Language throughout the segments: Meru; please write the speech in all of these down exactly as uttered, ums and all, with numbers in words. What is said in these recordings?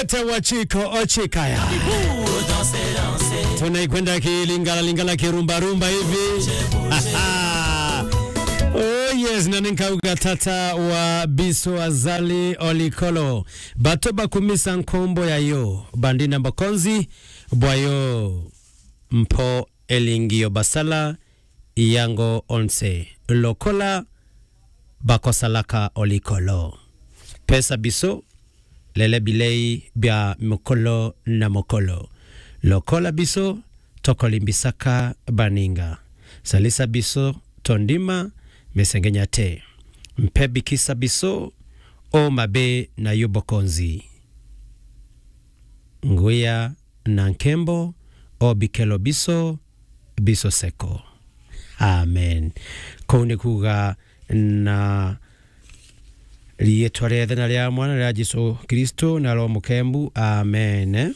Ete wa Chiko Ochikaya. Tunaikwenda kilingala lingala kirumba rumba hivi. Oh yes, na ninkauga tata wa Biso Azali Olikolo. Bato bakumisa nkombo yayo, bandina mbokonzi bwayo, mpo elingio basala yango onse. Lokola bakosalaka Olikolo. Pesa biso, lele bilei bia mokolo na mokolo. Lokola biso, tokolimbisaka baninga. Salisa biso, tondima, mesengenyate. Mpe bikisa biso, o mabe na yubokonzi. Nguya na nkembo, o bikelo biso, biso seko. Amen. Kuu ni kuuga na riitwa ria Ithe na ria Mwana na ria Jesu Kristo na Roho Mukembu. Amen.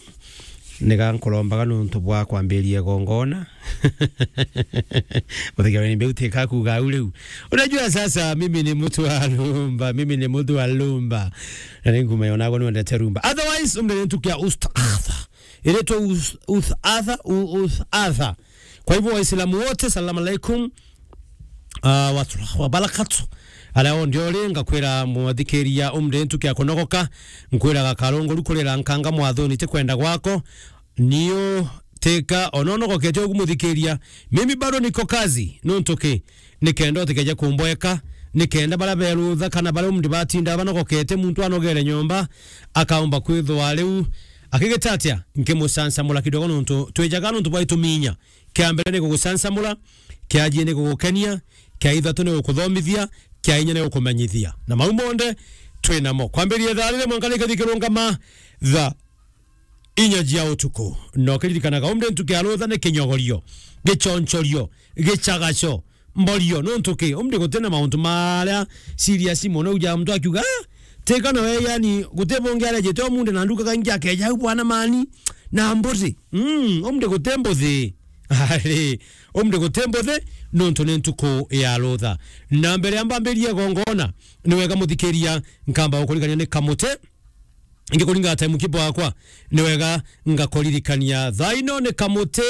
Niga nkurombaga nuntu bwa kwambiria igongona. Uthikia ni mbeu tika kuuga au riu. Unajua sasa mimi ni mtu wa rumba, mimi ni mtu wa rumba. Na ni nguma yonagwo ni wendete rumba. Otherwise, umbe ni ntukia ustadha. Iretwe us-, uthatha, u-, uthatha. Kwa hivyo, Waislamu wote, salamu alaikum. Ah, wa rahmatullahi wa barakatuh. Aria o ndio ri, ngakwira mwathikiria umri ntukia kunogoka, nkwiraga karungu ru kurira nkanga mwathoni ti kwenda gwako, niu tika ona unogokete ugumuthikiria. Mimi bado niko kazi, nuntu ki? Nikenda utikeje kumbweka, nikenda baria berutha kana baria umri batinda banogokete, muntu anogere nyomba, akaumba kwithwa riu akigita atia? Nkimucansamula kidogo nuntu twijaga nuntu bwa ituminya. Kia mbere ni gugucansamula, kia jiri ni gugukenia, kia ithatu ni gukuthomithia, kia inya ni gukumenyithia. Na mau monthe twi namo. Kwambiria thaa riri mwanka rikathi kirungama thaa inya jia utuku. Na ukiririkanaga umri ntukia rutha ni kinyogorio, gichonchorio, gichagacho, mborio, nuntu ki? Umri gutina mauntu maria serious mono uja muntu akiuga, "Ah, tika nawe, yani, guti bungi arejete umunthi na nduka kaingi akeja au bwana mani na mbuthi." Mm, umri guti mbuthi. Ari, umri guti mbuthi, nuntu ni ntuku ya rutha. Na mbere ya mbambirie gongona, ni wega muthikiria, nkamba gukurigania ni kamuti, ngikuringa time kibo akwa, ni wega ngakuririkania. Thaa ino ni kamuti,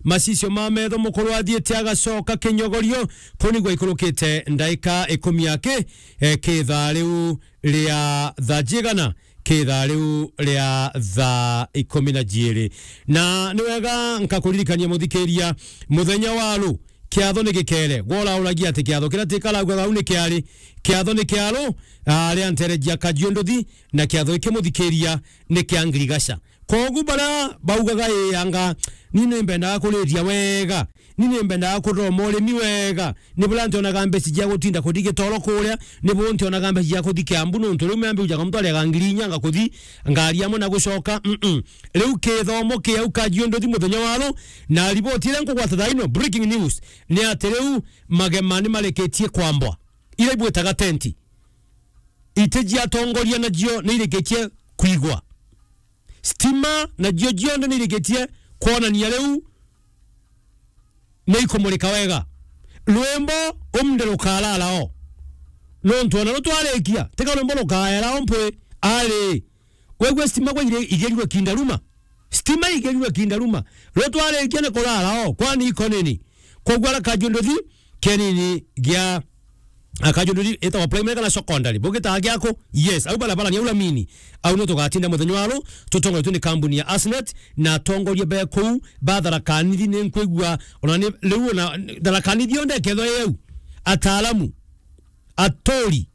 macicio ma metho mukuru athiite agacoka kinyogorio, kuu nigwe ikurukite ndaika ikumi aki, eh, ki thaa riu ria thaa jigana, ki thaa riu ria thaa ikumi na jiiri. Na ni wega nkakuririkania muthikiria, muthenya wa ru, kiatho ni gikere. Gwe urauragia ati kiatho kiria tikaraugaga au ni kiari? Kiatho ni kiaru, ah, ria ntere jia kajiunduthi, na kiatho giki muthikiria ni kia ngirigaca. Kogu baria baugaga, "Ii anga, ni nimbendaga kuriria wega, ni nimbendaga kuthoma urimi wega, ni buria ntionaga mbeca cia gutinda kuthi gitoro kuria, ni bu ntionaga mbeca cia kuthi Kiambu, nuntu riu membi ujaga muntu ariaga ngiri inya ngakuthi ngari amwe na gucoka." Mm-mm. Riu kithomo kiu kajiunduthi muthenya wa ru, na riboti iria nkugwata thaa ino, breaking news, ni ati riu magema ni marikitie kwambwa. Iria ibwitaga tenti. Iti jia atongoria najio ni irikitie kwigwa. Stima najio jionthe ni irikitie kwonania riu ni ikumurika wega. Rwimbo umnde rukarara o. Nontu ona rutwarikia, tika rwimbo rukaera o mpwi. Ari, kwegua stima gwa ire-, igerirwe kindaruma. Stima igerirwe kindaruma. Rutwarikia ni kurara o, kwani iko nini? Kwogua ara kajunduthi kenini gia, a, kajunduthi itawa primary kana secondary. Bugitaga giaku? Yes, au barabara ni au Lamini. Au no tugatinda muthenya wa ru, tutongoretwe ni kambuni ya Asnet, na atongoria be kuu ba Tharaka Nithi ni nkwigua, ona ni riu ona Tharaka Nithi yonthe ikethwa i au. Ataalamu, aturi,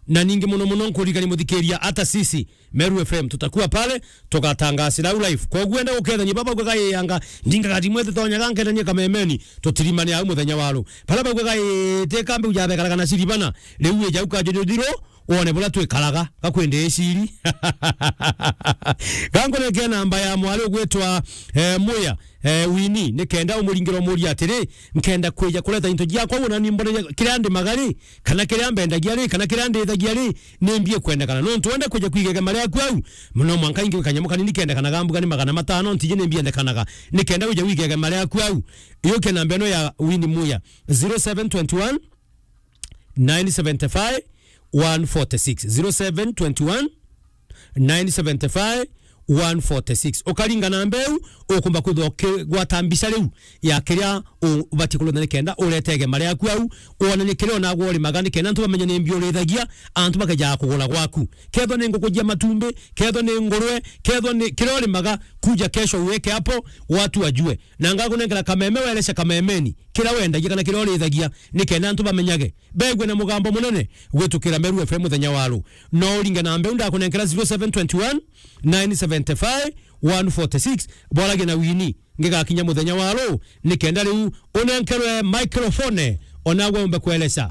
na ningi muno muno nkuririkania muthikiria, hata sisi Meru F M tutakuwa pale, tugatangasira au live. Koguo enda gukethania baba ugaga ii anga, ndingaga thimwe tutonyaga nkethania kamemeni, tutirimane au muthenya wa ru. Bara baugaga ii, tika mbiu jabekaraga na ciribana, riu ija ukajujuthiro, wone buria twikaraga, gakwende iciri. Gankunekia namba ya mwari ugwitwa, eh, Muya, eh, Wini, nikenda umuringire umuria atiri, nkenda kwija kureta into jiakwa, wona ni mbone kiria ndimaga ri, kana kiria mbendagia ri, kana kiria ndithagia ri, ni mbie kwendekana. Nontu wenda kwija kwiga igema riaku au, no mwanka ingi kanyamu kanini kendekanaga mbuga ni magana matano, ntiji ni mbiendekanaga. Nikenda wija wiga igema riaku au, yuke namba ino ya Wini Muya, zero seven twenty one, nine seventy five, one forty six, zero seven twenty one, nine seventy-five, one forty-six. Ukaringa namba iu, ukumba kwithwa ukigwata mbica riu ya kiria ubati kulonda nikenda uretege mari yaku au, wonanie kiria onagwa urimaga nikenda antu bamenye ni mbi urithagia, antu bakejaga kugura gwaku. Kethwa ni nguku jia matumbi, kethwa ni ngurwe, kethwa ni kiria urimaga, kuja kesho uweke hapo, watu wajue. Na ngakunenkera kameme, wereca kamemeni kiria wendagia kana kiria urithagia, nikenda antu bamenyage, begue na mugambo munene gwitukira Meru F M muthenya wa ru. No uringe namba iu ndakunenkera, zero seven twenty one, nine seventy-five, one forty-six, boragia na Winnie. Ngigakinya muthenya wa ru, nikenda riu unenkerwe microphone, onagwe umbe kueleza.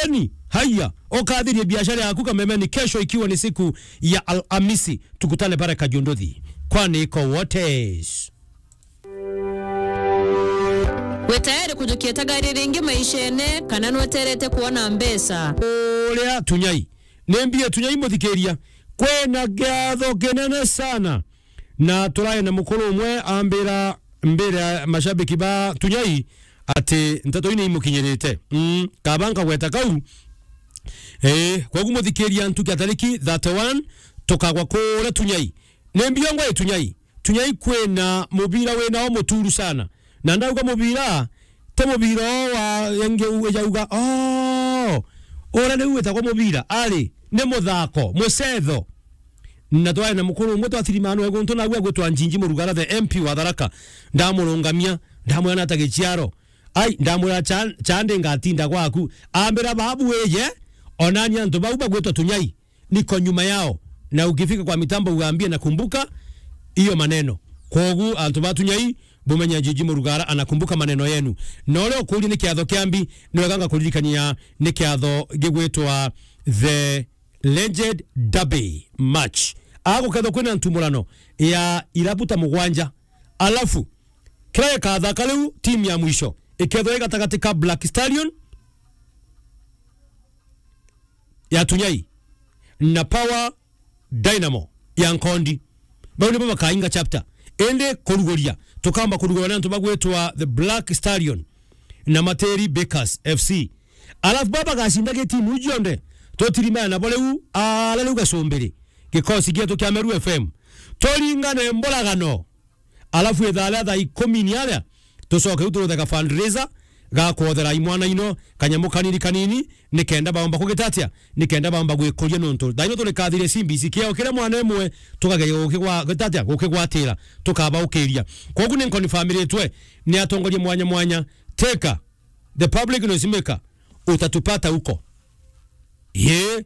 Eni, haya, ukathirie biashara yaku kamemeni kesho, ikiwa ni siku ya Alhamisi. Tukutane pale Kajunduthi. Kwani iko wote. Wi tayari kujukia tagari ringi maishene, kana nweterete kuona mbeca? Uria Tunyai. Ni mbie Tunyai muthikiria. Kwina kiatho kinene sana. Na turae na mukuru umwe ambira mbere ya mashabiki ba Tunyai ati nteto ii ni imukinyirite. Mm, kaba nkagweta kau. Eh, kogu muthikiria ntuku ya tariki thirty-one, tukagwa kuria Tunyai. Ni mbio ngwa i Tunyai. Tunyai kwina mubira wina o muturu sana. Na ndauga mubira, ti mubira o wa yengi u-, ejauga, "Oh, uria riu witagwa mubira." Ari, ni muthako, mucetho. Na twae na mukuru umwe twa Thirimano e guntu nawe agwitwa Njinji Murugara, the M P wa Tharaka. Ndamurungamia, ndamwira nata giciaro. Ai, ndamwira, "Cha-, chande ngatinda gwaku." Ambira, "Babu wije, onani antu bau bagwitwa Tunyai." Niko nyuma yao. Na ukifika kwa mitambo uambie nakumbuka hiyo maneno. Kwogu antu ba Tunyai, bumenya Njinji Murugara anakumbuka maneno yenu. Na uria ukuria ni kiatho kia mbi, ni wega ngakuririkania ni kiatho gigwitwa the Legend Derby Match. Agukethwa kwina ntumurano ya irabu ta mugwanja. Alafu, kiria gikathaka riu, timu ya mwisho ikethwa i gatagati ka Black Stallion ya Tunyai na Power Dynamo ya Nkondi. Bau nibo bakainga chapter. Indi kuruguria, tukamba kuruguria na antu bagwitwa the Black Stallion na Materi Bakers F C. Alafu baba gacinda gitimu cionthe, tutirimana nabo riu, ala riu gacumbiri. Gikosi gietu kia Meru F M. Turingane mboragano. Alafu ithaa ria thaa ikumi ni aria, tucoke riu turuthega fundraiser, ga kwothera imwana ino, kanyamu kanini kanini, nikenda baomba kugitatia, nikenda baomba gwikuria nontu. Thaa ino turi kathire C B C, kiao kiria mwana imwe, tukageria gukigwa-, gitatia, gukigwatira, tukabaukiria. Kwogu ni nkonifamiritwe ni atongoria mwanya mwanya. Teka, the public noise maker, utatupata huko. Yee.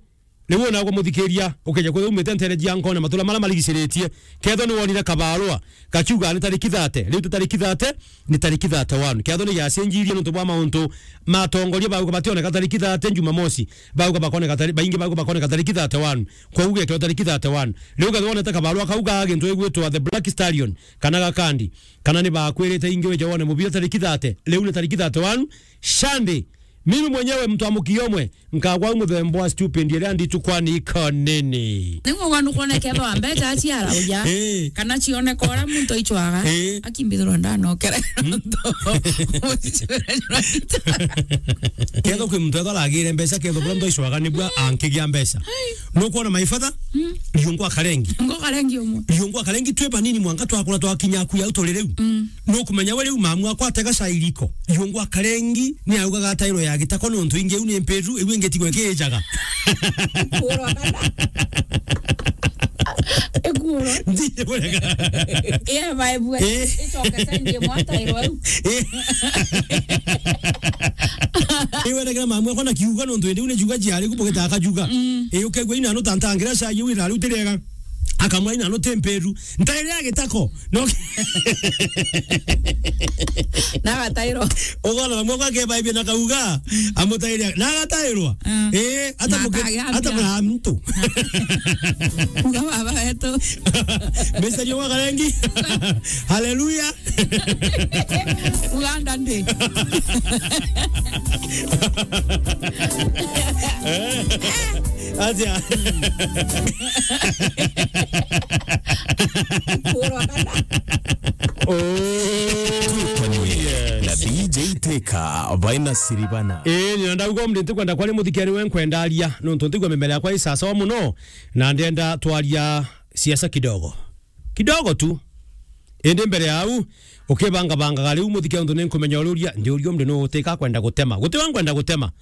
Riu ona gwa muthikiria, ukeja kwithwa umite ntere cia nkona matura maria marigiciritie, kethwa ni wonire kabarua gakiuga ni tariki thirty, riu ti tariki thirty, ni tariki thirty-one. Kethwa ni yacenjirie nontu bwa mauntu ma atongoria bauga bationeka tariki thirty Jumamosi, bauga bakoneka tari-, baingi bauga bakoneka tariki thirty-one. Kwogu gekirwa tariki thirty-one. Riu kethwa wonete kabarua kau ga gintu gigwitwa the Black Stallion, kana gakandi, kana ni bakwirite ingi wije wone mubira tariki thirty, riu ni tariki thirty-one, Sunday. Mimi mwenyewe mtu wa mukiomwe, nkagwa muthemba wa stupid iria nditukwa ni ikonene. Niguo nukwona kethwa mbeca aciara uja. Eh. Kana cioneka uria muntu aicwaga. Eh. Akimbithirwa ndanokere. Kethwa kwi muntu ethwa aragire mbeca, kethwa buria muntu aicwaga nibua ankigia mbeca. Nukwona my father? Mm. Riungwa karengi. Ngo karengi umwe. Riungwa karengi twi banini mwanka twakura twakinya ku yau turi riu. Mm. Nukumenya we riu mamu akwa atega cairiko. Yungwa karengi ni augaga atairwo ya gitako nontu ingi iu ni mpiru, iu ingi tigwe kiijaga. Kuurwa kana? Ikuurwa. Ndiye burega. Iya, baibwe. Eh. Icoke sendi imwe atairwo au. Eh. Iwe regera mamu akwa na kiuga nontu indi iu ni juga jiari ku bugita akajuga. Mm. Eh, ukegwa ina no tantangira cai iu ina riu tiriega. Akamwa ina no temperu. Ntaire ya gitako. No. Na agatairwa. Ugona na moko ake baibia na kauga, amutaire. Na agatairwa. Ah. Eh, ata muke-, ata mura mtu. Uga baba wetu. Message wa karengi. Hallelujah. Uganda ndi. Atia. Twikanie na D J Teka, baina siribana. Ii, ni ndauga mri ntikwenda kwari muthikiri we nkwendaria, nontu ntigwa mimera yakwa i sawa muno, na ndenda twaria siasa kidogo. Kidogo tu. Indi mbere ya au, ukibangabangaga riu muthike untu ni nkumenya uria uria, ndi uria umri nu utika kwenda gutema. Guti wa nkwenda gutema.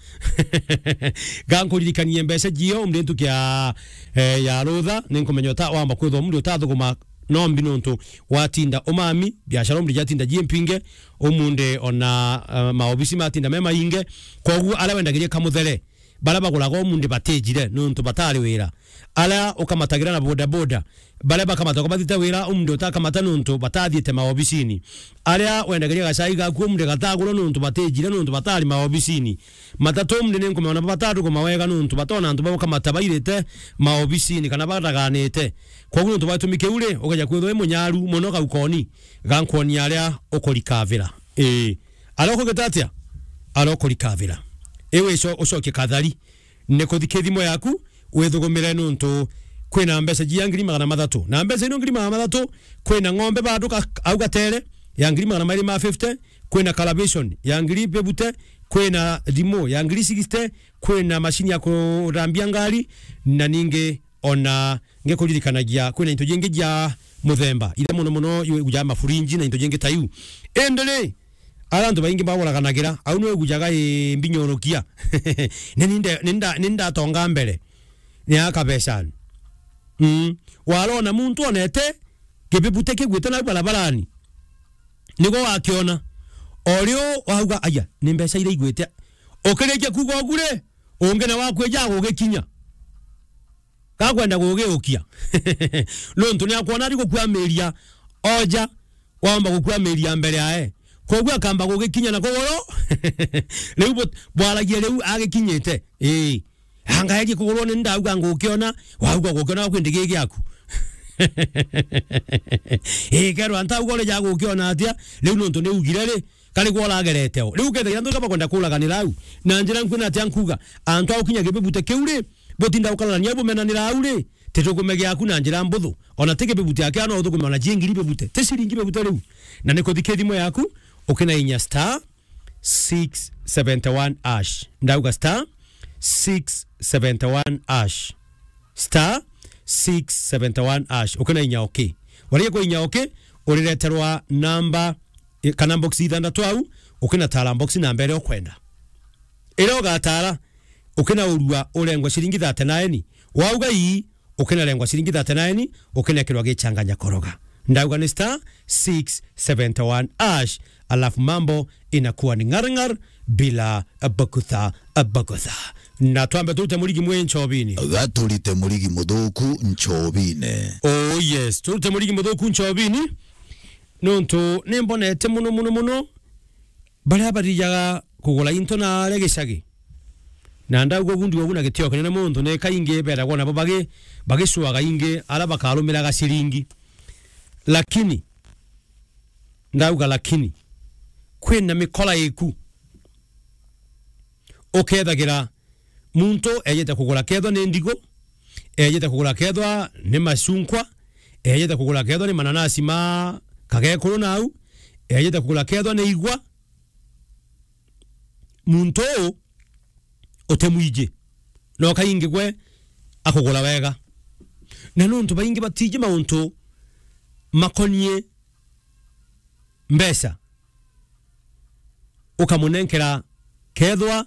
Ga nkuririkanie mbeca jio, umri ntuki ya, eh, ya rutha, ni nkumenya uta wamba kwithwa umri utathuguma no mbi nuntu watinda umami, biashara umri jatinda ji mpinge, umunde ona, eh, maobisi matinda me mainge. Koguo aria wendagiria kamuthere, baria baguraga umunde batijire nuntu batari wira. Aria ukamatagira na bodaboda, baria bakamata ukabathite wira, umunde utakamata nuntu batathiite maobisini. Aria wendagiria gacai gaku umunde gatagurwa nuntu batijire nuntu batari maobisini. Matatu umunde ni nkumenya ona bataruguma wega nuntu batona antu bau ukamata bairite maobisini kana baraganite. Koguo nuntu bwa gitumi kiu ri, ukeja kwithwa wi munyaru mono gaukoni, ga nkwonia aria ukurikavira. Ii. Aria ukugita atia? Aria ukurikavira. Iwe ico ucokie kathari. Ni kuthike thimo yaku, withugumire nuntu kwina mbeca jia ngiri magana mathatu. Na mbeca ino ngiri magana mathatu, kwina ng'ombe bado ka-, au gatere ya ngiri magana mairi ma fifty, kwina calibration ya ngiri bibute, kwina thimu ya ngiri sixty, kwina mashini ya kurambia ngari, na ningi ona ngikuririkanagia kwina into jingi jia muthemba, iria mono mono igujaga mafurinji na into jingi ta iu. Indi ri, aria antu baingi baguraganagira, au niwe ugujaga i mbinyorukia. Ni ninde, ninda, nindatonga mbere. Ni akabecani. Mm. Warona muntu onete kibibute kigwite nau barabarani. Niguo wakiona. O riu wauga, "Aya, ni mbeca iria igwite." Ukirikia kuuga ugu ri, ungi nawe akwija agugikinya. Gakwenda gugiukia. Nuntu ni akwona ari gukwamiria oja, wamba gukwamiria mbere yae. Koguo akamba gugikinya na kuguru. Riu bu-, bwaragia riu agikinyite. Ii. Anga egie kugurwa ni ndauga ngukiona, wauga gukiona kwindi gigi giaku. Ii, kerwa ntauga uri ja gukiona atia, riu nuntu ni ugire ri, kari gwa uragerete o. Riu ukethira antu bakwenda kuraganira au. Na njira nkwina atia nkuga, antu a gukinya kibibute kiu ri, butinda gukararania bumenanira au ri, titukume giaku na njira mbuthu. Ona ti kibibute akia no uthukume ona ji ngiri bibute. Ti ciringi bibute riu. Na ni kuthike thimo yaku, ukina inya star six seventy one hash. Ndauga star six seventy one hash. Star six seventy one hash. Ukina inya okay. Waria kwa inya okay, urireterwa namba, eh, kana box ithanthatu au, ukinatara box namba iria ukwenda. Iria ugatara, ukinaurua urengwa ciringi thirty nine. Wauga ii, ukinarengwa ciringi thirty nine, ukinekirwa gichanganya koroga. Ndauga ni star six seventy one hash, alafu mambo inakuwa ni ngar ngar bila bugutha bugutha. Na twambe turute murigi mwi nchobini. Gaturite murigi muthuku nchobine. Oh yes, turute murigi muthuku nchobini. Nontu nimbonete muno, muno, muno baria bathijaga kugura into na aria gicagi. Na ndauga ugu, ndiuga ugu na gitio kinene muntu, ni kaingi beragwa nabo bagi-, bagicwaga ingi aria bakarumiraga ciringi. Lakini, ndauga lakini, kwina mikora iku. Ukethagira muntu ejite kugura kethwa ni ndigu, ejite kugura kethwa ni macunkwa, ejite kugura kethwa ni mananasi ma kagekuru nau, ejite kugura kethwa ni igwa. Muntu uu uti mwiji, no kaingi gwe akugura wega. Na nuntu baingi batiji mauntu makonie mbeca, ukamunenkera kethwa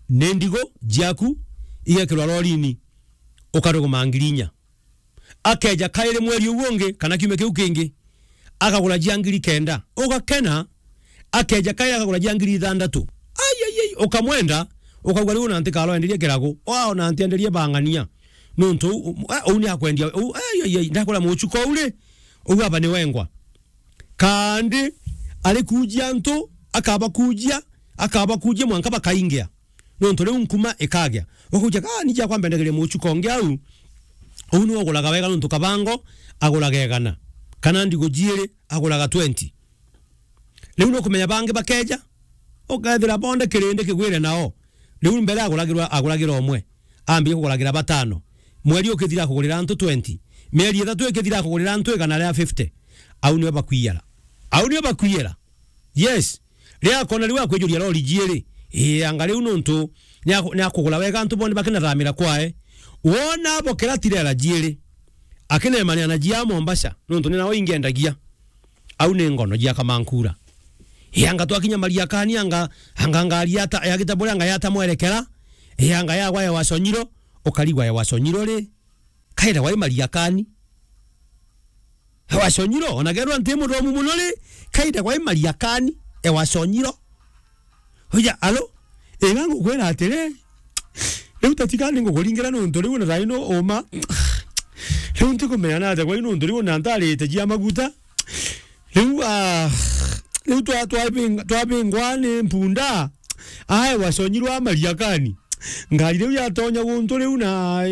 ni ndigu jiaku igekirwa lorini, ukaruguma ngiri inya. Akeja kairi mweri uu ungi kana kiumia kiu kingi, akagura jia ngiri kenda. Ugakena, akeja kairi akagura jia ngiri ithanthatu. Ai, ai, ai, ukamwenda, ukauga, "Riu na ntikaro enderie kiragu, wao na ntienderie bang'ania." Nuntu uu, uu ni akwendia, uu, ai, ai, ai, ndakura muchuko uu ri, uu aba ni wengwa. Kandi arikujia antu, akabakujia, akabakujia mwanka bakaingia. Nontu riu nkuma ikagia. Ukaujia, "Ka ni jakwa mbendagiria muchuko ungi au." Uu niwe uguraga wega nontu kabango aguraga igana. Kana ndigu jiiri aguraga twenty. Riu nukumenya bangi bakeja, ukethira bonde kirindi kigwire nao. Riu mbere aguragirwa, aguragira umwe. Ambia kuguragira batano. Mweri ukithira akugurira antu twenty. Mieri ithatu ikithira akugurira antu igana ria fifty. Au niwe bakwiyara. Au niwe bakwiyara. Yes. Riria akona riu akwijuria lori jiiri, ii, anga riu nuntu ni aku-, ni akugura wega antu bonthe bakinathamira kwae. Wona abokera tirela jiiri, Akineemania na jia Mombasa, nontu ni nao ingendagia. Au ni ngono jia Kamankura. Yanga twakinya Mariakani, anga, anga ngari yata, yagita bure, anga yata mwerekera. Yanga yagwa ya Wasonyiro, ukarigwa ya Wasonyiro ri. Kaira wai Mariakani. Wasonyiro, ona gerwa nti muthomu muno ri, kaira wai Mariakani, e Wasonyiro. Uja, alo? Iga ngukwira atiri, riu tatiga ni ngukuringira nontu riu na thaino uma. Riu ntikumenya na atia kwai nontu riu na ntarite jia maguta. Riu, ah, riu twa-, twabing-, twabingwa ni mpunda. Ae, Wasonyirwa Mariakani. Ngari riu yatonya guntu riu na,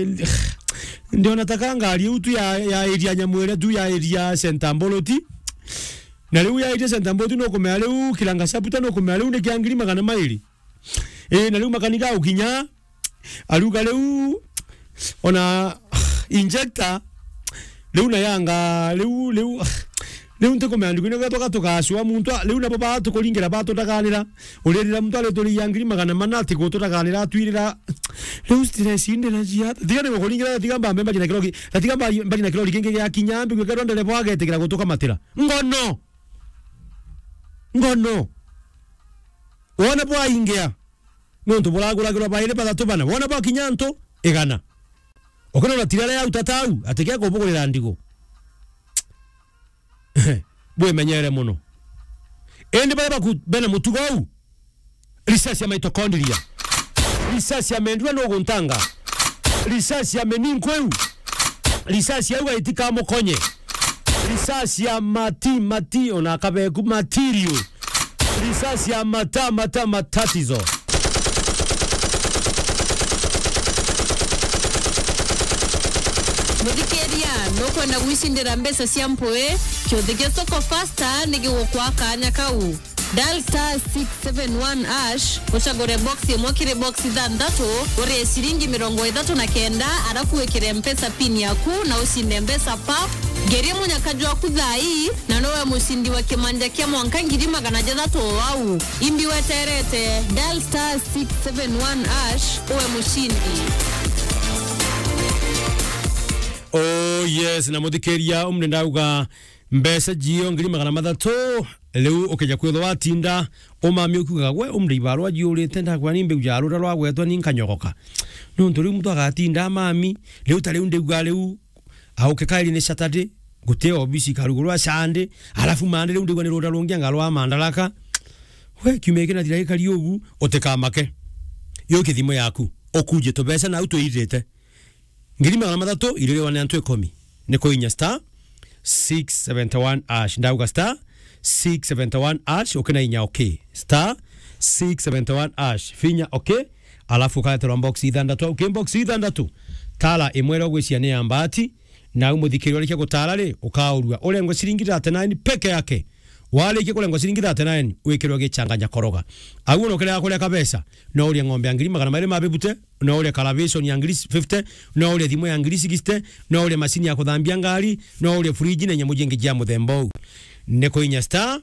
ndiona ta ka ngari iu tu ya, ya area Nyamwere tu ya area Center Mboloti. Na riu ya area Center Mboloti nukumenya riu Kiranga Sabuta nukumenya riu ni kia ngiri magana mairi. Ii, na riu makaniga gukinya, aruga riu, ona injector, riu na yanga, riu, riu, riu ntikumenya ndiku, nigwe tuga tukacua muntu, a, riu nabo batukuringira batutaganira, uririra muntu arituriria ngiri magana mana ati gututaganira atwirira, riu stress inde na jia, tiga ni gukuringira, tiga mbambe mbari na kirori, tiga mbari, mbari na kirori kingi gia kinya, mbi gwikirwa ndereba agetikira gutukamatira. Ngono! Ngono! Wona bwaingia, nontu buraguragirwa bairi bathatu bana. Wona bwakinya antu igana. Ukinona tirare ya utata au, ati kia kubugurira ndigu. Bwimenyere muno. Indi baria baku-, bena mutugo au, risasi ya mitochondria, risasi ya mendua nuguntanga, risasi ya meninko iu, risasi ya uga itikamukonye, risasi ya mati, mati, ona akabeku material, risasi ya mata, mata, matatizo. Muthikiria, nukwenda gwicindira mbeca cia mpui? Kiuthi kia Soko Fasta ni gigukwa kanya kau. Dial star six seven one hash, ucagure box imwe kiri box ithanthatu, urie ciringi mirongo ithatu na kenda, arafu wikire Mpesa pin yaku na ucinde mbeca pap. Ngerie munyaka jwaku thaa ii, na nowe mucindi wa kimanja kia mwanka ngiri magana jathatu o au. Imbi weterete, dial star six seven one hash, uwe mucindi. Oh yes, na muthikiria, umri ndauga mbeca jio ngiri magana mathatu, riu ukija kwithwa watinda umami ukiugaga, "Gwe, umri ibarwa jiurite, ndakwira ni mbiu ja ruta rwagwetwa ni nkanyogoka." Nontu riu muntu agatinda amami, riu ta riu ndigua riu, auke kairi ni Saturday, guti obisi ikarugurwa Sunday, alafu Monday riu ndigua ni ruta rungi anga rwa Mandaraka. We, kiumia giki nathira gikari ugu, utikamake. Yo kithimo yaku, ukuje tubeca nau tuirite. Ngiri magana mathatu iririwa ni antu ikumi. Ni kuinya star six seventy one hash. Ndauga star six seventy one hash, ukina inya okay. Star six seventy one hash. Finya okay. Alafu ukaeterwa box ithanthatu. Au ki box ithanthatu, tara imwe iria ugwiciria ni ya mbaati, na au muthikiria urikia gutara ri, ukaurua. Urengwe ciringi thirty nine peke yake. Warikia kurengwa ciringi thirty nine, wikirwa gichanganya koroga. Au ona ukirega kuria kabeca, no urie ng'ombe ya ngiri magana mairi ma bibute, no urie calculation ya ngiri fifty, no urie thimu ya ngiri sixty, no urie macini ya kuthambia ngari, no urie fridge na nyamu jingi jia muthemba uu. Ni kuinya star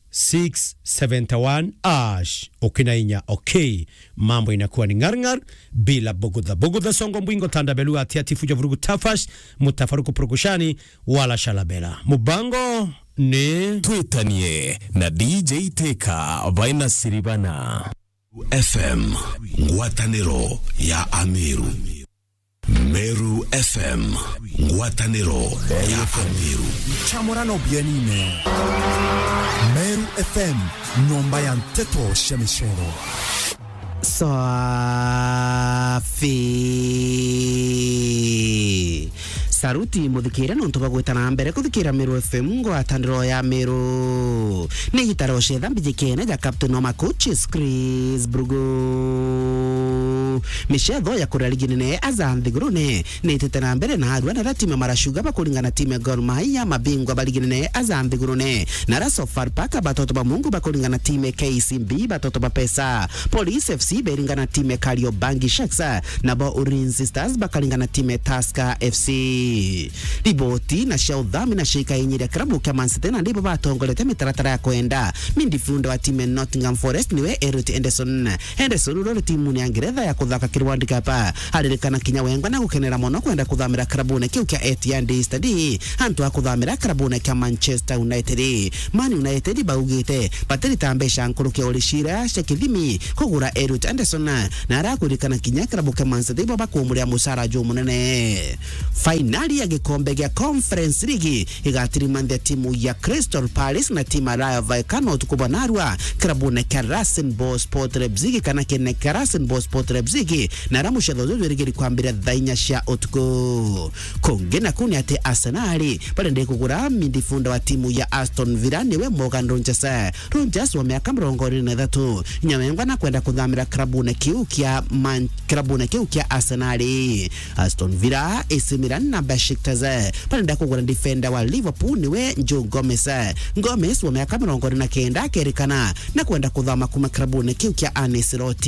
six seventy one hash, ukina inya, okay. Mambo inakuwa ni ngar ngar, bila bugudha. Bugudha songo mbwingo tanda belu ati ati fujo vurugu tafash, mutafaruku purukushani, wala shalabela. Mubango ni Twitanie na D J Teka baina Siribana. F M, ngwataniro ya Ameru. Meru F M, ngwataniro ya Ameru. Chamorano bienine. Meru F M, nyomba ya nteto cia micero. Safi. Saruti muthikiria nontu bwa gwita na mbere kuthikira Meru F M, ngwataniro ya Meru. Ni gitaro cetha mbijikene ja Captain wa Macoaches, Chris Brugo. Micetho ya kuria ligi nene aja nthigurune ni itite na mbere na arua na aria timu ya Mara Sugar bakuringana na timu ya Gor Mahia, mabingwa ba ligi nene aja nthigurune. Na aria Sofapaka batoto ba Mungu bakuringana na timu ya K C B, batoto ba Pesa. Police F C beringana na timu ya Kariobangi Sharks, nabo Ulinzi Stars bakaringana na timu ya Tusker F C. Riboti na cia uthami na cia ikainyiria kirabu kia Man City na ndibo batongorete mitaratara ya kwenda. Midfielder wa timu ya Nottingham Forest niwe Elliot Henderson. Henderson uria uri timune ya Ngeretha ya kuthaka kiri World Cup. Aririkana kinya wengwa na gukenera mono kwenda kuthamira kirabune kiu kia Etihad Stadium, antu a kuthamira kirabune kia Manchester United. Man United baugite batirita mbeca nkuruki o ricira cia kithimi kugura Elliot Anderson, na arakwirikana kinya kirabu kia Man City bo bakumurira mucara jumunene. Fainali ya gikombe gia Conference League igatirimanthia timu ya Crystal Palace na timu ya Rayo Vallecano utuku bwa narua kirabune kia Rasenball Sport Leipzig, kana kene kia Rasenball Sport Leipzig, na ara mucetho uju jwirigiri kwambira thaa inya cia utuku. Kungi naku ni ati Arsenal barenda kugura midfielder wa timu ya Aston Villa, niwe Morgan Rogers. Rogers wa miaka mirongo iri na ithatu, nyawengwa na kwenda kuthamira kirabune kiu kia Man-, kirabune kiu kia Arsenal. Aston Villa, A C Milan na Besiktas barenda kugura defender wa Liverpool, niwe Joe Gomez. Gomez wa miaka mirongo iri na kenda akerikana na kwenda kuthama kuma kirabune kiu kia Arne Slot.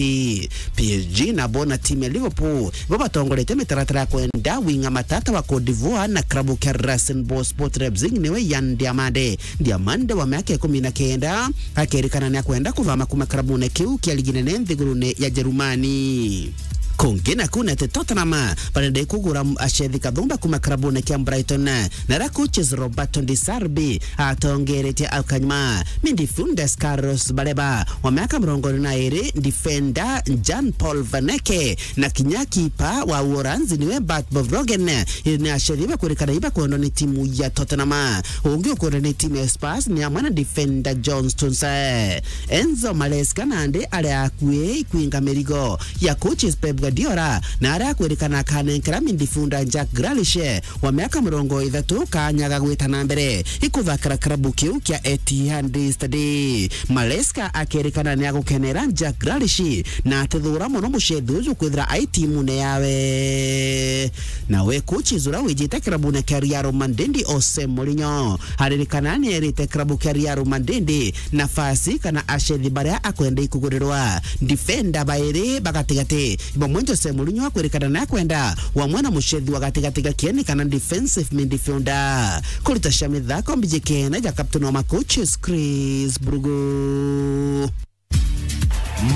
P S G nabo na timu ya Liverpool bo batongoretie mitaratara ya kwenda winga matata wa Cote d'Ivoire na klabu kia Rasenball Sport Leipzig, niwe Yan Diomande. Diomande wa miaka ikumi na kenda akerikana ni akwenda kuthama kuma klabune kiu kia ligi nene nthigurune ya Jerumani. Kungi naku ni ati Tottenham barenda kugura achethi kathumba kuma klabune kia Brighton, na ra coaches Roberto De Zerbi atongeretie au kanyuma. Midfielder Carlos Baleba wa miaka mirongo iri na iri, defender Jan Paul Van Hecke, na kinya kipa wa Uholanzi niwe Bart Verbruggen, ni achethi bakwirikana ibakwendwa ni timu ya Tottenham. Ungi ukwendwa ni timu ya Spurs ni amwe na defender John Stones. Enzo Maresca nandi ari akui ikwinga mirigo ya coaches Pep Guardiola, na ari akwirikana akanenkera midfielder Jack Grealish wa miaka mirongo ithatu kanya ga gwita na mbere ikuthakira klabu kiu kia Etihad Stadium. Maresca akerikana ni agukenera Jack Grealish na atithura mono mucethi uju kwithira ai timune yawe. Nawe coaches uria wijite klabune kia Real Madrid, Jose Mourinho, aririkana ni erite klabu kia Real Madrid nafasi kana achethi baria akwenda ikugurirwa. Defender bairi ba gatigati, bamwe Jose Mourinho akwirikana ni akwenda wamwe na muchethi wa gatigati ga kieni kana defensive midfielder. Kurita cia mithako mbiji kena ja captain wa ma coaches Chris Brugo.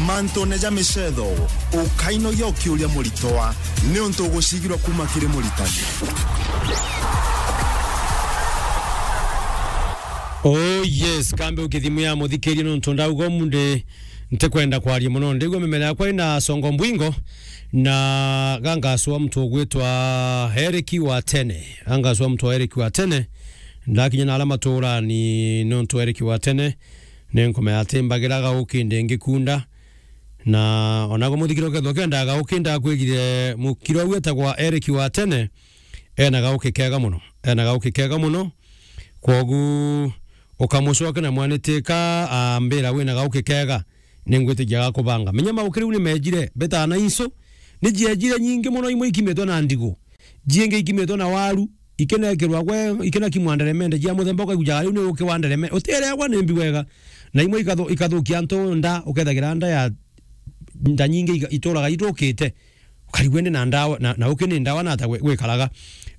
Mantune ja micetho, ukainogia ukiuria muritwa, niuntu ugucigirwa kuma kiri muritani. Oh yes, kambe ukithimu ya muthikiria nuntu ndauga umunthi ntikwenda kwaria mono. Ndigua mimera yakwa ina songo mbwingo, na gangaswa muntu ugwitwa Eric wa Tene. Gangaswa muntu wa Eric wa Tene. Ndakinya na ala maturani nuntu Eric wa Tene. Ni nkumenya ati mbagira gauki ndi ngikunda. Na ona gwe muthikiri ukethwa ukenda gauki, ndakwigire mukiri uria wetagwa Eric wa Tene, ena gauki kega mono. Ena gauki kega mono. Kwogu ukamucoke na mwanitika ambira wina gauki kega, ningwitikia gakubanga. Menya maukiri u ni mejire, betana inso, ni jiejire nyingi mono, imwe ikimitwe na ndigu. Jiingi ikimitwe na waru, ikinekirwa gwe, ikinakimwa nderemende jia muthemba, ukaigujaga riu ni uki wa nderemende. Utireagwa ni mbi wega. Na imwe ikathu-, ikathukia antu nda, ukethagira nda ya, nda nyingi ika-, ituraga ithukite. Ukarigua indi na ndawa, na, na uki ni ndawa na ata gwe-, gwikaraga.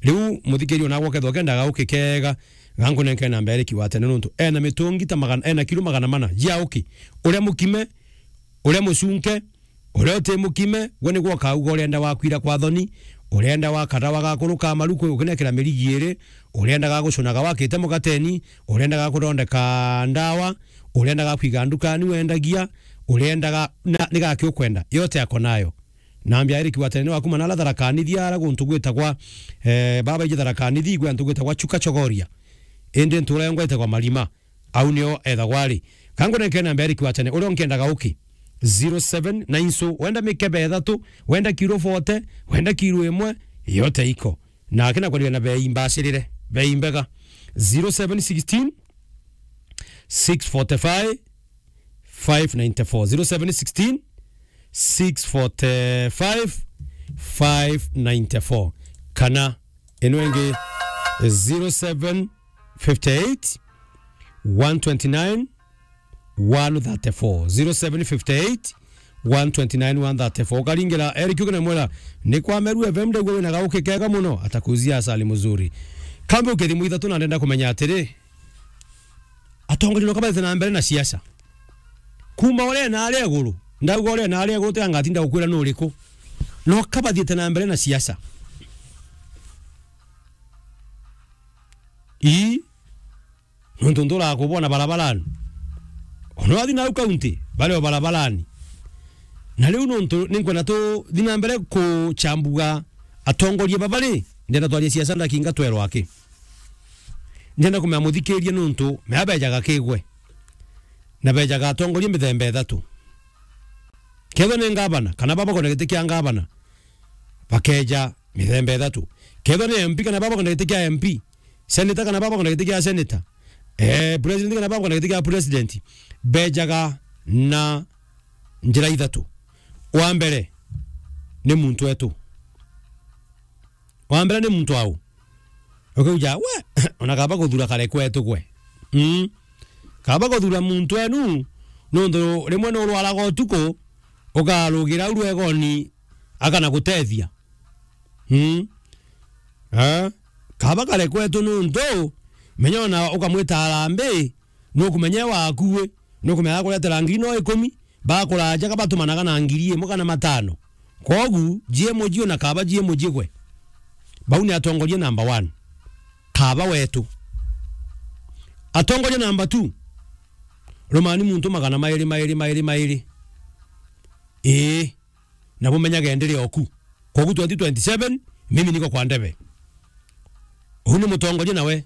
Riu muthikiri onagwe ukethwa ukendaga uki kega, gankunenke namba Eric wa Tene nuntu ena mitungi ta magana, ena kilo magana mana jia uki. Uria mukime, uria mucunke, uria uti mukime, gwe nigwe ukauga urenda wa kwira kwa thoni, urenda wa kadawa ga kuruka maru kwi-, ukinekira mirigi iri, urenda ga gucuna gawakite mukateni, urenda ga kuthondeka ndawa, urenda ga kwiga ndukani wendagia, urenda ga, na, ni gaki ukwenda, yote ako nayo. Nambia Eric wa Tene ni wakuma na ala Tharaka Nithi, ara guntu gwitagwa, eh, baba iji Tharaka Nithi, gwe antu gwitagwa Chuka Chogoria. Indi ntura yongwa itagwa Marima. Au nio ethagwa ari. Kangunenke namba Eric wa Tene, uria unkiendaga uki. Zero seven na inso, wenda mikebe ithatu, wenda kiro forty, wenda kiro imwe, yote iko. Na akina kwendia na bei mbacirire, bei mbega. Zero seven sixteen, six forty-five, five ninety-four. Zero seven sixteen, six forty-five, five ninety-four. Kana ino ingi, zero seven fifty-eight, one twenty-nine, one thirty-four. Zero seven fifty-eight, one twenty-nine, one thirty-four. Ukaringira Eric ukina mwera, ni kwa Meru F M ndegwe wina gauki kega muno, atakuzia asali mzuri. Kambe ukithimu ithatu na ndenda kumenya atiri, atongoria no kabaite na mbere na siasa. Kuma uria na aria iguru, ndauga uria na aria iguru, tiga ngatinda gukwira nu uriku. no kabathiite na mbere na siasa. Ii, nontu nturaga kubona barabarani. Ona wathi nau kaunti, bari o barabarani. Na riu nontu ninkwenda tuthi na mbere kuchambuga atongoria baba ri, ndenda twarie siasa ndakinga twerwa aki. Ndenda kumenya muthikirie nontu mea bejaga kigwe. Na bejaga atongoria mithemba ithatu. Kethwa ni ngavana, kana baba kwenda giti kia ngavana, bakeja mithemba ithatu. Kethwa ni M P kana baba kwenda giti kia M P, senator kana baba kwenda giti kia senator, eh, president kana baba kwenda giti kia president, bejaga na njira ithatu. Wa mbere ni muntu wetu. Wa mbere ni muntu au. Ukauja, we, ona kaba kuthura kare kwetu gwe. Mm. Kaba kuthura muntu enu, nontu rimwe ni urwaraga utuku, ukarugira au rwegoni, akana gutethia. Mm. Eh? Kaba kare kwetu nontu, menya ona ukamwita arambi, nukumenya e waku wi, nukumenya akuretera ngiri no ikumi, bakuraja kabatumanaga na ngiri imwe kana matano. Kogu, jie muji ona kaba jie muji gwe. Bau ni atongoria number one. Kaba wetu. Atongoria number two. Rumani muntu magana mairi, mairi, mairi, mairi. Ii. Na bumenyage ndiri oku. Kogu twenty twenty-seven, mimi niko kwa ndebe. Uu ni mutongoria nawe.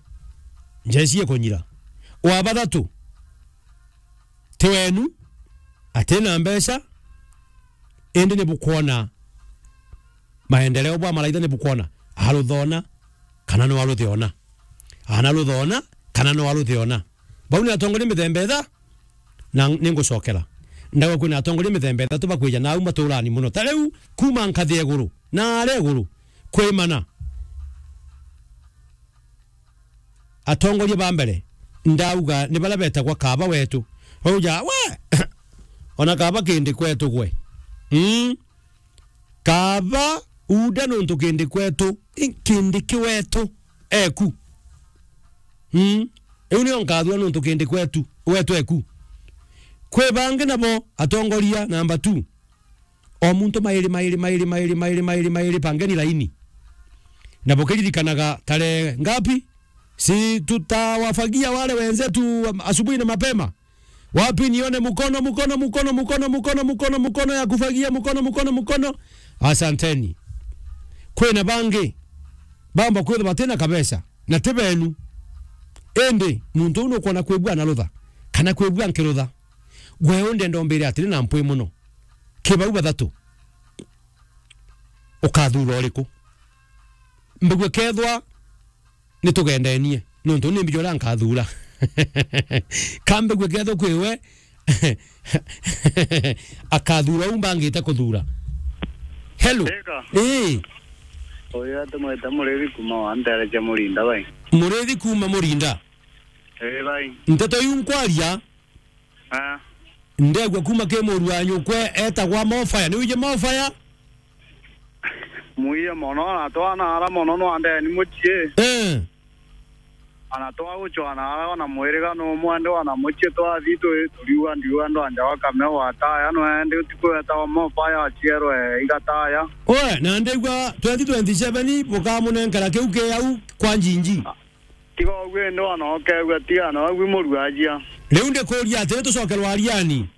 Njeci ikunyira. Wa bathatu, ti wenu, atina mbeca, indi ni bukwona maendeleo bwa maraitha ni bukwona. Aruthona, kana no aruthiona. Ana ruthona, kana no aruthiona. Bau ni atongoria mithemba itha, na ningucokera. Ndauga kwina atongoria mithemba ithatu bakwija nau maturani muno. Ta riu, kuma nkathi ya iguru, na aria iguru, kwimana. Atongoria ba mbere, ndauga ni baria betagwa kaba wetu. Bauja, we, ona kaba kindi kwetu gwe. Mm. Kaba uda nontu kindi kwetu, i-, kindi ki wetu eku. Mm. Iu nio nkathua nontu kindi kwetu, wetu eku. Kwi bangi nabo atongoria number two. O muntu mairi, mairi, mairi, mairi, mairi, mairi, mairi, pangeni laini. Na bukiririkanaga tarehe ngapi? Si tutawafagia wale wenzetu asubuhi na mapema? Wapi nione mkono, mkono, mkono ya kufagia, mkono, mkono, mkono? Asanteni. Kwina bangi, bamba kwithwa batina kabesa, na ti benu. Indi, muntu uu nukwona kwibua na rutha, kana kwibua nkirutha. Gwe u ndenda umbire atiri na mpwi muno. Ki bau bathatu, ukathura uriku? Mbigue kethwa nitugendenie, nontu ni mbija uria nkathura. Ka mbigue kethwa kwi we, akathura u mbangite kuthura. Hello. Eka. Ii. Uyu atumwite Murithi kuma wa ntere cia Murinda, bai. Murithi kuma Murinda. Ii, bai. Nteto iu nkwaria, Ah. Ndegua kuma ki muru wa nyukwe etagwa Mofaya. Ni wije Mofaya? Mwiye mono, na twana ara mono no andeni mucii. Eh. Ana twa gucwana ara ona mwiriga no mwende ona mucii twathi tu-, turiuga ndiuga ndo anja wa Kameo wa Taya, no ende utiku wetagwa Mofaya aciarwe igataya. Oe, na ndegua twenty twenty-seven bukamunenkera kiu ki au kwa njinji. Ah. Tiga uguo indi wana ukegua, tiga na uguo muruajia. Riu ndikuria atiri, tucokerwa ariani?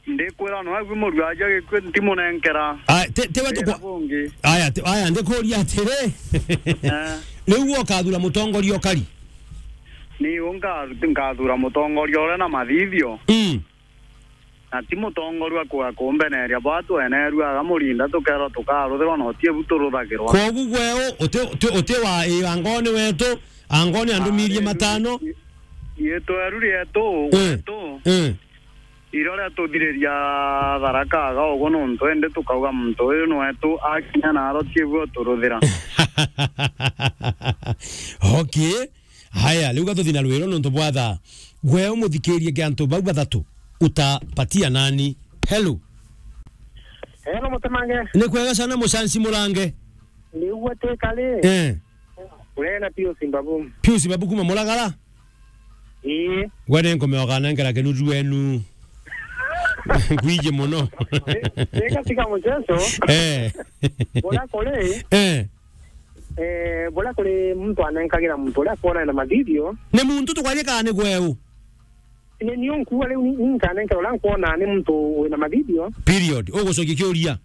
Ndikwira na uguo muruajia gikui ntimunenkera. Ah, ti, ti we tukwa-, bungi. Aya, ti, aya, ndikuria atiri. Eh. Riu we ukathura mutongoria ukari? Ni u nka-, nkathura mutongoria uria na mathithio. Mm. Na ti mutongoria kuga kumbeneria bwa twenerua aga Murinda tukerwa tukaruthirwa na uti ebu turuthagirwa. Kwogu gwe u, uti, uti, uti wa, ii, angoni wetu, angoni andumirie matano. Ii, tweru rietu, eh, gwetu, eh, irio riatuthiriria Tharaka aga ugu nontu indi tukauga muntu uyu ni wetu, akinya naro ti ebu uturuthira. Okay. Haya, riu gatuthi na rwiro nontu bwa thaa. Gwe umuthikirie ki antu bau bathatu, utapatia nani? Hello. Hello, Mutemange. Ni kwega sana, Mucanci Murange. Ni ugwe ti kari? Eh. Urena Pius Mbabu. Pius Mbabu kuma Muragara? Ii. Gwe ni nkumeoka nengera kinuju wenu. Kwiji muno. Ri-, rika tiga muceco. Eh. Buria kuri, eh, eh, buria kuri muntu anenkagira muntu uria akwona ena mathithio. Ni muntu tukwaria kana ni gweu? Ni, ni unkuga riu ni, ni nkanenkera uria nkwona ni muntu wina mathithio. Period. Ugucokia kiuria.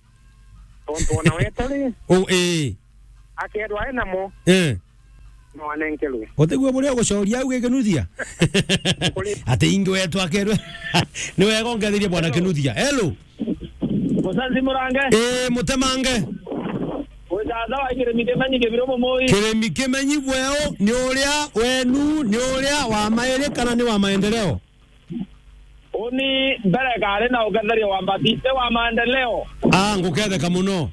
Tontu ona wetu ri, u-, ii, akerwa e namo. Eh. No anenkerwe. Utigua buria ugucoria au gikinuthia? Kuri. Ati ingi wetu akerwe. Ni wega ungetherie bwana Kinuthia. Hello. Musanzi Murange. Ii, Mutemange. Withatha wa kirimi kimenyi kibiro mumui. Kirimi kimenyi bweo ni uria wenu, ni uria wa mairi kana ni wa maendeleo? Uni mbere kari na uketheria wa mbati, ni wa maendeleo. Ah, nguketheka muno.